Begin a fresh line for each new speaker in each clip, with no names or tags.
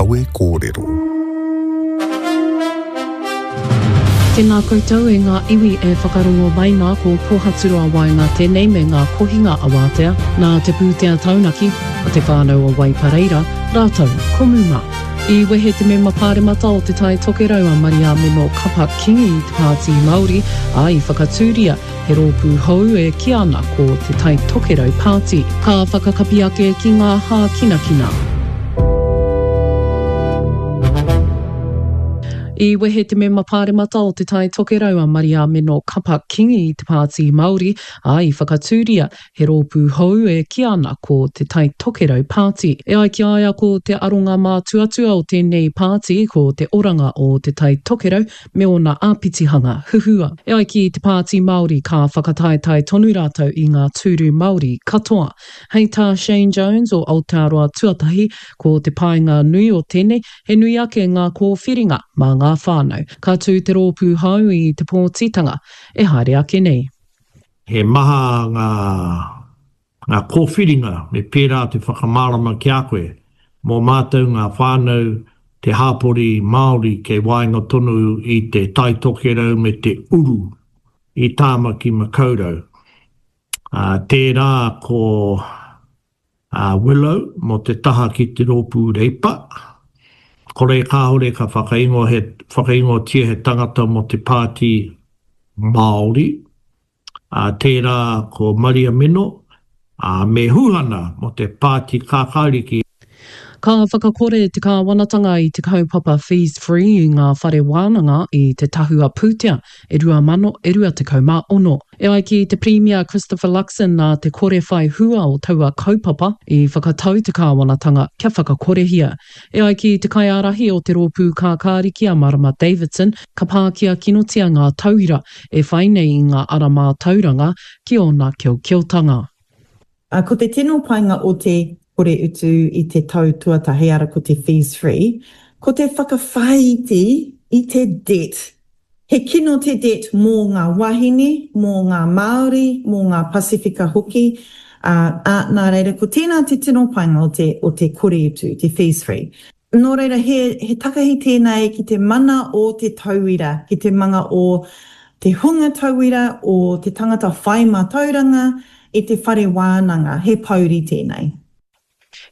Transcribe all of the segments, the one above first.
Kawe Kōrero.
Tēnā koutou e ngā iwi e whakarongo mai nā ko Pōhaturoa Waenga tēnei me ngā kohinga awātea nā te pūtea taunaki a te whānau o Waipareira rātou ko Muma. I wehe te mema pāremata o Te Tai Tokerau a Mariameno Kapa King i te Pāti Māori, ā, i whakatūria He rōpū hou e kīa ana ko Te Tai Tokerau Pāti. Ka whakakapi ake ki ngā hākinakina. I wehe te mema pāremata o Te Tai Tokerau a Mariameno Kapa King i te Pāti Māori, ā, i whakatūria he rōpū hou e kīa ana ko Te Tai Tokerau Pāti. E ai ki a ia ko te aronga mātuatua o tēnei pāti ko te oranga o Te Tai Tokerau me ōna āpitihanga huhua. E ai ki te Pāti Māori ka whakataetae tonu rātou i ngā tūru Māori katoa. Hei tā Shane Jones o Aotearoa Tuatahi, ko te painga nui o tēnei, he nui ake ngā kōwhiringa mā ngā whānau. Ka tū te rōpū hou i te pōtitanga e haere ake nei.
He maha ngā Ngā kōwhiringa me pērā te whakamārama ki a koe, mō mātou ngā whānau, te hāpori Māori kei waenga tonu i te Tai Tokerau me te uru i Tāmaki Makaurau. Ā, tērā ko Willow mō te taha ki te rōpū Reipa. Kore kāore ka whakaingoa he, whakaingoatia he tangata mō te Pāti Māori. ā, tērā ko Maria Mino, ā, me Huhana mō te Pāti Kākāriki.
Ka whakakore te kāwanatanga i te kaupapa Fees Free i ngā whare wānanga i te tahua pūtea e 2026. E ai ki te Pirimia Christopher Luxon nā te kore whai hua o taua kaupapa i whakatau te kāwanatanga kia whakakorehia. E ai ki te kaiārahi o te Rōpū Kākāriki a Marama Davidson, ka pākia kinotia ngā tauira e whai nei i ngā ara mātauranga ki ōna keokeotanga.
Ko te tino painga o te kore utu i te tau tuatahi, ara ko te fees free, ko te whakawhāiti i te debt. He kino te debt mō ngā wāhine, mō ngā Māori, mō ngā Pasifika hoki, ā, nā reira ko tēnā te tino painga o te, o te kore utu, te fees free. Nō reira, he, he takahi tēnei ki te mana o te tauira, ki te manga o te hunga tauira, o te tangata whai mātauranga i te whare wānanga, he pouri tēnei.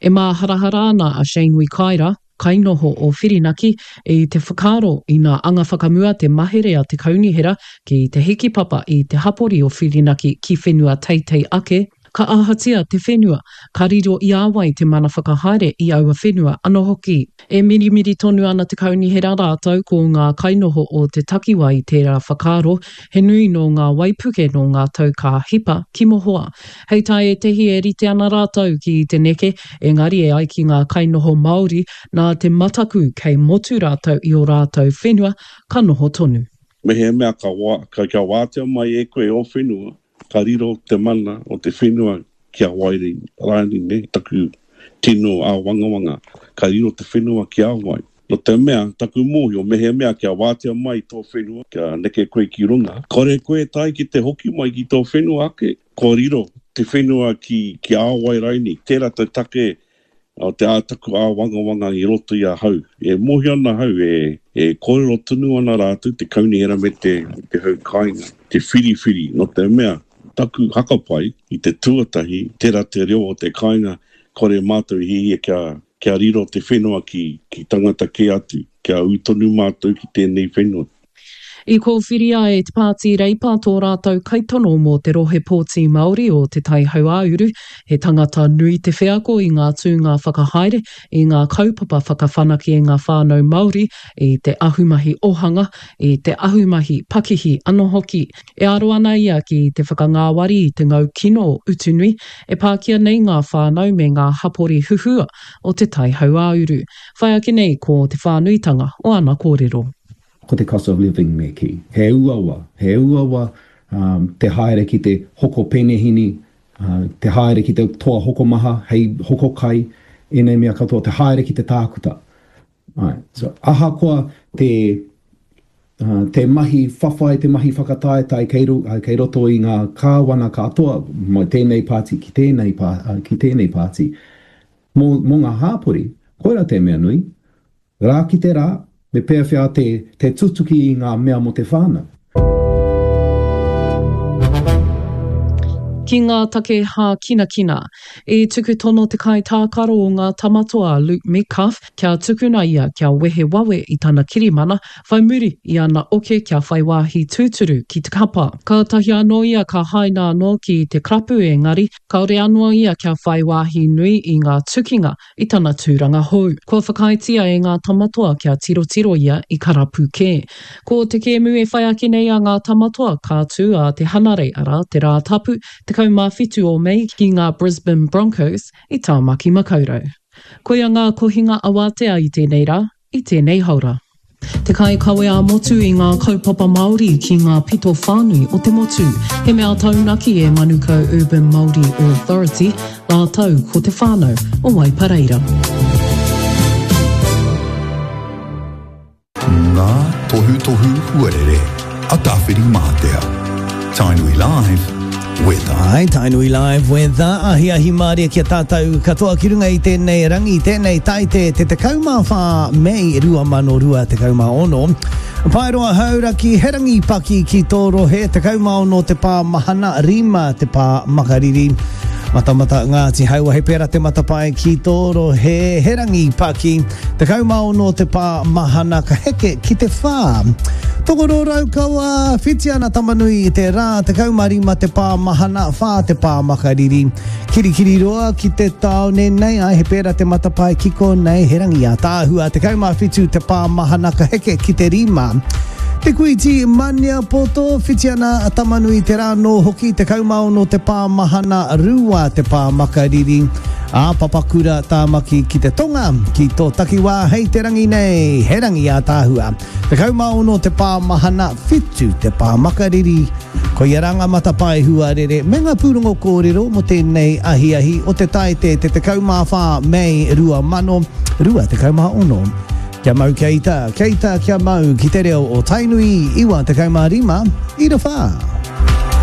E māharahara ana a Shane Wikaira, kainoho o Whirinaki, i te whakaaro ina anga whakamua te mahere a te kaunihera ki te hikipapa i te hapori o Whirinaki ki whenua teitei ake, Ka ahatia te whenua, ka riro i a wai te mana whakahaere i aua whenua ano hoki. E mirimiri tonu ana te kaunihera rātou ko ngā kainoho o te takiwa i tērā whakaaro, he nui nō ngā waipuke nō ngā tau ka hipa ki mohoa. Hei tā ētehi e rite ana rātou ki te neke, engari e ai ki ngā kainoho Māori, nā te mataku kei motu rātou i ō rātou whenua, ka noho tonu.
Mehemea ka, ka, kia wātea mai e koe ō whenua, Ka riro te mana o te whenua ki a wai rānei, nē, taku tino āwangawanga, ka riro te whenua ki a wai? Nō te mea, taku mōhio, mehemea kia wātea mai tō whenua, kia neke koe ki runga, kore koe e tae ki te hoki mai ki tō whenua ake, kua riro te whenua ki, ki a wai rainei. Tērā te take O te ā taku āwangawanga i roto i ahau. E mōhio ana ahau e, e kōrero tonu ana rātou, te kaunihera me te, me te hau kāinga, te whiriwhiri, nō te mea, taku hakapai i te tuatahi, tērā te reo o te kāinga, kore mātou i hiahia kia, kia riro te whenua ki, ki tangata kē atu, kia ū tonu mātou ki tēnei whenua.
I kōwhiria e te Pāti Reipa tō rātou kaitono mō te rohe pōti Māori o Te Tai Hauāuru, he tangata nui te wheako i ngā tūnga whakahaere, i ngā kaupapa whakawhanake i ngā whānau Māori, i te ahumahi ohanga, i te ahumahi pakihi anō hoki. E aro ana ia ki te whakangāwari i te ngau kino o Utunui, e pākia nei ngā whānau me ngā hapori huhua o Te Tai Hauāuru. Whai ake nei ko te whānuitanga o ana kōrero.
Ko te cost of living me kī. He uaua, he uaua te haere ki te hoko penehini, te haere ki te toa hokomaha hei hoko kai, ēnei mea katoa, te haere ki te tākuta. Āe. So, ahakoa te, te mahi whawhai, te mahi whakataetae kei, kei roto i ngā kāwana katoa, mai tēnei pāti ki tēnei, ki tēnei pāti, mō, mō ngā hāpori, koirā te mea nui. Rā ki te rā, me pēwhea te, te tutuki i ngā mea mō te whānau.
Ki ngā take hākinakina. I tuku tono te kaitākaro o ngā Tamatoa a Luke Metcalf kia tukuna ia kia wehe wawe i tana kirimana whai muri i ana oke kia whai wāhi tūturu ki te kapa. Kātahi anō ia ka haina anō ki te karapu engari kāore anō ia kia whai wāhi nui i ngā tukinga i tana tūranga hou. Kua whakaaetia e ngā Tamatoa kia tirotiro ia i karapu kē. Ko te kēmu e whai ake nei a ngā Tamatoa ka tū ā te Hanarei, arā, te Rātapu, 17 o Mei ki ngā Brisbane Broncos i Tāmaki Makaurau. Koia ngā kohinga awatea i tēnei rā, i tēnei haora. Te kaikawe ā-motu i ngā kaupapa Māori ki ngā pito whānui o te motu. He mea taunaki e Manukau Urban Māori Authority rātou ko te whānau o Waipareira.
Ngā tohutohu huarere a Tāwhirimātea. Tainui Live, Weather.
Ai, Tainui Live Weather, ahiahi mārie ki a tātou katoa ki runga i tēnei rangi, tēnei taite te 14 Mei 2026. Paeroa Hauraki, he rangi paki ki tō rohe, 16 te pā mahana, 5 te pā makariri. Matamata Ngāti Haua, he pērā te matapae ki tō rohe, he rangi paki. 16 te pā mahana ka heke ki te whā. Tokoro Raukawa, whiti ana Tamanui i te rā, 15 te pā mahana, whā te pā makariri. Kirikiriroa ki te tāone nei, ai he pērā te matapae ki konei, he rangi ātaahua, 17 te pā mahana ka heke ki te rima. Te Kuiti Maniapoto, whiti ana Tamanui te rā nō hoki, 16 te pā mahana, rua te pā makariri. Ā Papakura Tāmaki ki te tonga, ki tō takiwā hei te rangi nei, he rangi ātaahua. 16 te pā mahana, whitu te pā makariri. Koia rā ngā matapae huarere me ngā pūrongo kōrero mō tēnei ahiahi o te Taite te 14 Mei 2026. Kia mau kia ita, kia ita kia mau ki te reo o Tainui 95 ira whā.